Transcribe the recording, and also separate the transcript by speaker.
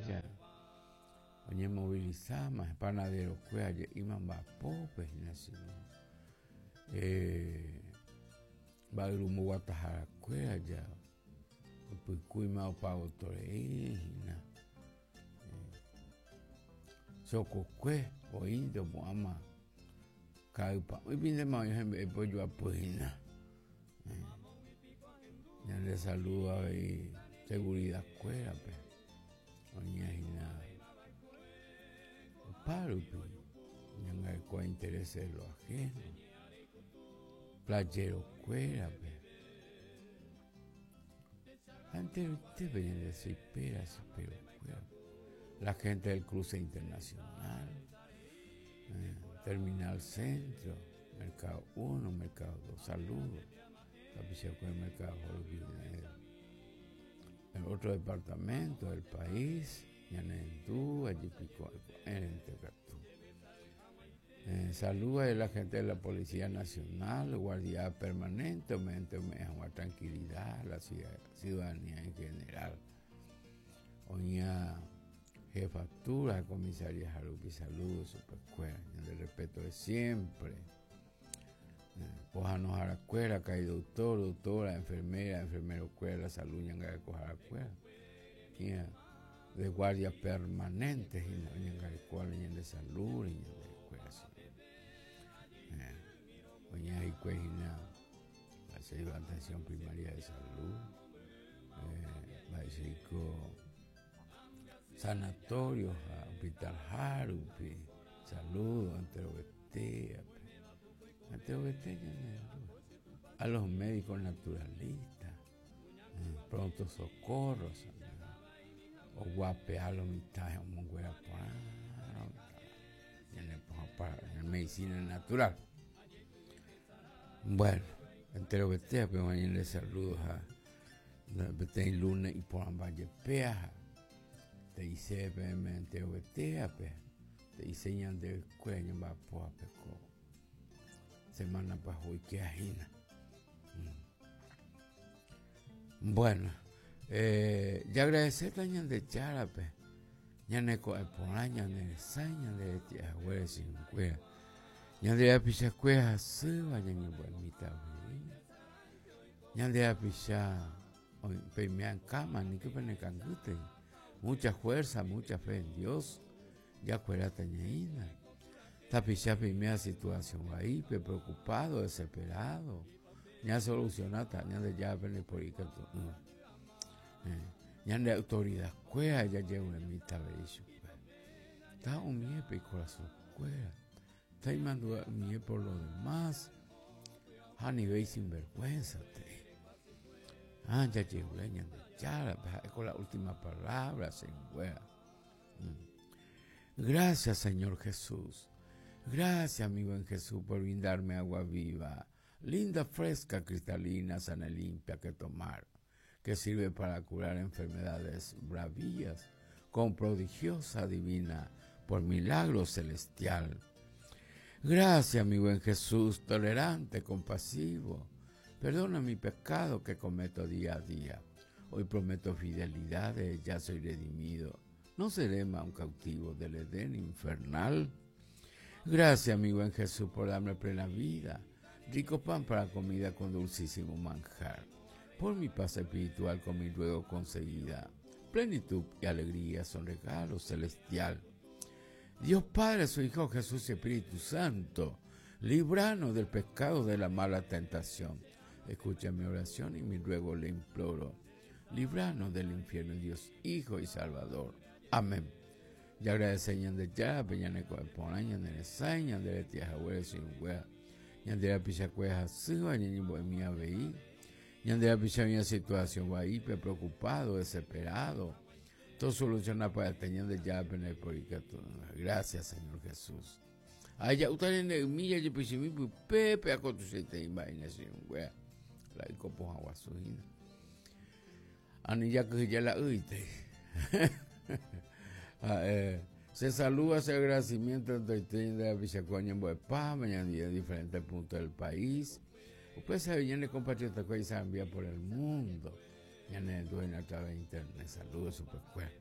Speaker 1: ja oñemovilizáma panadero-kuéra je'íma mba'apópe hína chino. Eh, mba'yru mboguataharakuéra ja opykúima opa votorei hína. Eh, chokokue oĩnte opu'ãma ka'ypa'ũipintema oĩ hembe'épe ojoapy hína. Eh, ñande saludo avei seguridad kuérape oĩa hína opárupi oñangareko intereses de lo ajeno playero kuérape ha enteroitépe ñande chipera chipero kuérape la gente del cruce internacional eh, terminal centro mercado 1 mercado 2 saludos tapichakuéra mercado rupi en otro departamento del país ñanendu ajepiko ko'ẽrente katu eh, saludos a la gente de la Policía Nacional, guardia permanente, ome'ẽnte ome'ẽ hag̃ua tranquilidad la ciudadanía en general. Oĩa jefatura, comisaría rupi saludos chupekuéra, ñande respeto de siempre. Pohãnoharakuéra, karai doctor, doctora, enfermera, enfermero-kuéra, la salud ñangarekoharakuéra, hína de guardia permanente hína oñangarekóva la ñande salud re ñandekuéra oñe'ẽ hikuái hína mba'éicha atención primaria de salud, mba'éichaiko sanatorio ha hospital hárupi, saludo enterovetéape, enterovete ñane a los médicos naturalistas, pronto socorro, oguapea lo mitã omonguera porã ñane pohã medicina natural. Bueno, enterovetéape oĩ ñande saludo ha peteĩ lunes iporãmba jepéa ha te'ise peẽme enterovetéape, te'ise ñandekuéra ñamba'apóvape ko semana pyahu oikéva hína. Bueno, eh, jaagradecéta Ñandejárape ñane ko'ẽ porã, ñane resãi, ñande reti'a haguére chirũnguéra. Ñande rapichakuéra hasýva ñañembo'emíta avei. Ñande rapicha peime akãma, aníke penekangýtei. Mucha fuerza, mucha fe en Dios. Jakueráta ñaína. Tapicha peiméva situación vaípe, preocupado, desesperado. Ñasolucionáta Ñandejára pende por ikatu'ỹva. Eh, ñande autoridad kuéra jajeruemíta avei chupe. Ta umíepe ikorasõ kuéra. Ta imandu'a umíe por lo demás. Ha anivéi sinvergüenza tei. Ah, jajerure Ñandejárape, ha'e ko la última palabra, che irũnguéra. Gracias, Señor Jesús. Gracias, mi buen Jesús, por brindarme agua viva, linda, fresca, cristalina, sana y limpia que tomar, que sirve para curar enfermedades bravías, con prodigiosa divina, por milagro celestial. Gracias, mi buen Jesús, tolerante, compasivo. Perdona mi pecado que cometo día a día. Hoy prometo fidelidad, ya soy redimido. No seré más un cautivo del Edén infernal. Gracias, mi buen Jesús, por darme plena vida, rico pan para comida con dulcísimo manjar. Por mi paz espiritual con mi ruego conseguida. Plenitud y alegría son regalos celestial. Dios Padre, su Hijo Jesús y Espíritu Santo, líbranos del pecado de la mala tentación. Escucha mi oración y mi ruego le imploro. Líbranos del infierno, Dios, Hijo y Salvador. Amén. Jaagradece Ñandejárape ñane ko'ẽ porã, ñane resãi, ñande retĩ haguére chirũnguéra, ñande rapichakuéra hasýva ñañembo'emi avei, ñande rapicha oĩva situación vaípe, preocupado, desesperado, tosoluciona pya'ete Ñandejárape ndaiporikatu'ỹva. Gracias, Señor Jesús. Aja'úta ñande ymi jajepychými pype pe akotuichaitei mba'e ñane chirũnguéra, la yko pohã guasu hína. Ani jakyhyje la ýitei. Ha'e, se saluda, se agradecimiento entoite ñande rapichakuéra oñembo'epáma ñandive en diferentes puntos del país. Upe sabe ñane compatriota-kuéra isarambía por el mundo. Ñane rendu hína a través de internet. Saludos chupekuéra.